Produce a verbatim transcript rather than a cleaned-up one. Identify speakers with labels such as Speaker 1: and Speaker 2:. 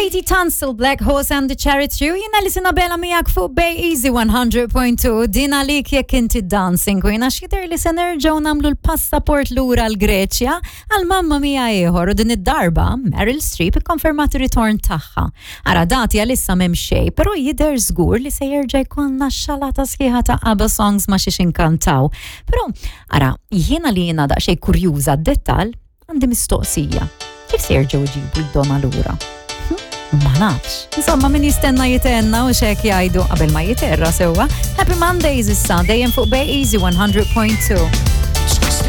Speaker 1: Katie Tunstall, Black Horse and the Charity, u jiena li Sinabela miegħek fuq Bay Easy one hundred point two, din għalik jekk inti dancing queen, għax jidher li se nerġgħu nagħmlu l-passaport lura l-Greċja għal Mamma Mia ieħor u din id-darba Meryl Streep ikkonfermat ir-ritorn tagħha. Ara, dati għalissa m'hemm xejn, però jidher żgur li se jerġa' jkollna xalata sħiħa ta' ABBA songs ma' xiex inkantaw. Però ara, jiena li jiena daqsxejn kurjuża d-dettal, għandi mistoqsija. Kif se jerġgħu jġibu l-dona lura? Hm? Ma nafx. Insomma, min jistenna jitenna u xek jgħidu qabel ma jiterra sewwa. Happy Mondays issa, dejjem fuq Bay Easy one hundred point two.